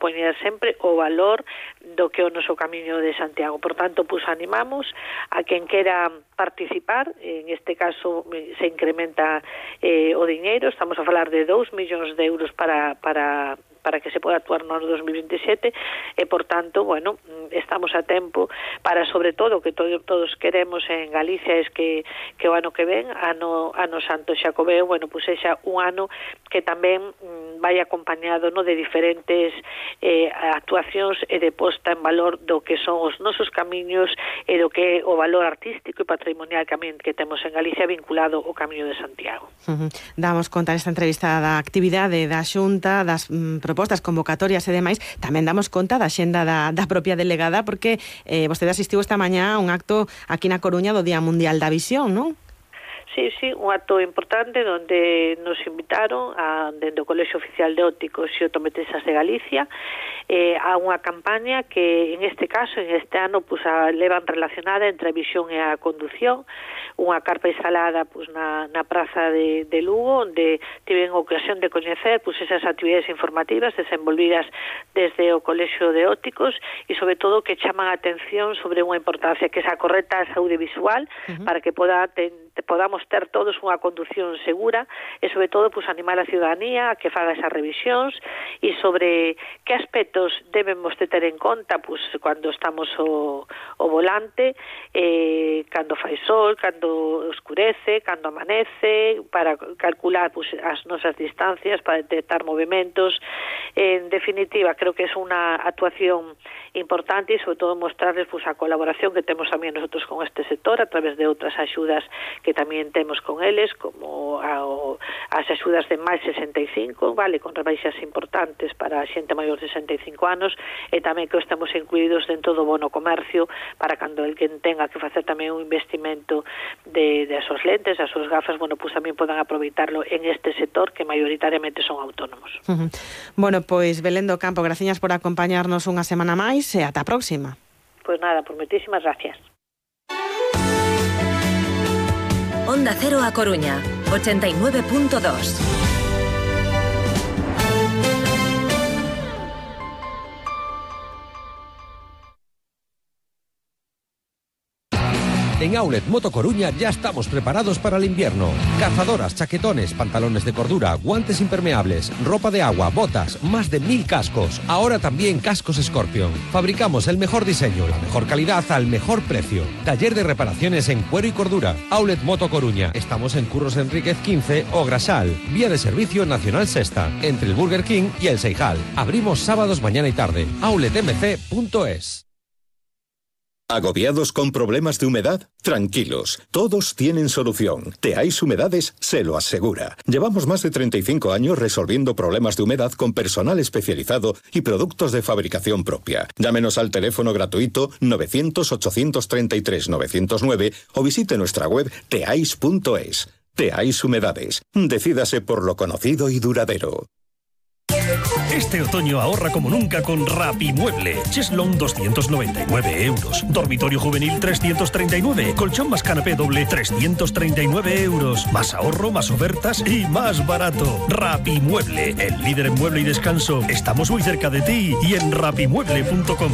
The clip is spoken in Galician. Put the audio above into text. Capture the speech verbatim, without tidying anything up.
poñer sempre o valor do que é o noso Camiño de Santiago. Por tanto, pues animamos a quen quera participar. En este caso se incrementa eh, o diñeiro, estamos a falar de dous millóns de euros para para para que se poda actuar no ano dos mil veintisiete e, por tanto, bueno, estamos a tempo para, sobre todo, que todo, todos queremos en Galicia es que, que o ano que ven, ano, ano Santo Xacobeo, bueno, pues sexa un ano que tamén mm, vai acompañado no de diferentes eh, actuacións e de posta en valor do que son os nosos camiños e do que é o valor artístico e patrimonial tamén que temos en Galicia vinculado ao Camiño de Santiago. Uh-huh. Damos conta nesta entrevista da actividade da Xunta, das mm, propostas, convocatorias e demais. Tamén damos conta da xenda da, da propia delegada, porque eh, vostede asistiu esta mañá a un acto aquí na Coruña do Día Mundial da Visión, non? Sí, sí, un acto importante donde nos invitaron a, dentro do Colexio Oficial de Ópticos e Optometristas de Galicia eh, a unha campaña que en este caso, en este ano, pues, a, levan relacionada entre a visión e a condución, unha carpa instalada pues, na, na praza de, de Lugo, onde tiven ocasión de coñecer pues, esas actividades informativas desenvolvidas desde o Colexio de Ópticos e, sobre todo, que chaman a atención sobre unha importancia que é a correcta saúde visual, uh-huh. para que poda ten, podamos ter todos unha condución segura e, sobre todo, pues, animar a ciudadanía a que faga esas revisións e sobre que aspectos debemos de ter en conta pues, cando estamos o, o volante, eh, cando fai sol, cando oscurece, cando amanece, para calcular pues, as nosas distancias, para detectar movimentos. En definitiva, creo que es unha actuación importante e, sobre todo, mostrarles pues, a colaboración que temos tamén nosotros con este sector a través de outras axudas que tamén temos con eles, como a, o, as axudas de máis sesenta e cinco, vale, con rebaixas importantes para a xente maior de sesenta e cinco anos, e tamén que estamos incluídos dentro do bono comercio para cando el que tenga que facer tamén un investimento de, de as súas lentes, as súas gafas, bueno, pues tamén podan aproveitarlo en este sector que maioritariamente son autónomos. Uh-huh. Bueno, pois Belén do Campo, graciñas por acompañarnos unha semana máis e ata a próxima. Pois nada, por moitísimas gracias. Onda Cero a Coruña, ochenta e nove punto dos. En Outlet Moto Coruña ya estamos preparados para el invierno. Cazadoras, chaquetones, pantalones de cordura, guantes impermeables, ropa de agua, botas, más de mil cascos. Ahora también cascos Scorpion. Fabricamos el mejor diseño, la mejor calidad al mejor precio. Taller de reparaciones en cuero y cordura. Outlet Moto Coruña. Estamos en Curros Enríquez quince o Grasal. Vía de servicio Nacional Sexta, entre el Burger King y el Seijal. Abrimos sábados mañana y tarde. outlet m c punto es. ¿Agobiados con problemas de humedad? Tranquilos, todos tienen solución. Teais Humedades se lo asegura. Llevamos más de treinta y cinco años resolviendo problemas de humedad con personal especializado y productos de fabricación propia. Llámenos al teléfono gratuito novecientos, ochocientos treinta y tres, novecientos nueve o visite nuestra web teais punto es. Teais Humedades. Decídase por lo conocido y duradero. Este otoño ahorra como nunca con Rapimueble. Cheslong doscientos noventa y nueve euros. Dormitorio juvenil trescientos treinta y nueve. Colchón más canapé doble trescientos treinta y nueve euros. Más ahorro, más ofertas y más barato. Rapimueble, el líder en mueble y descanso. Estamos muy cerca de ti y en rapimueble punto com.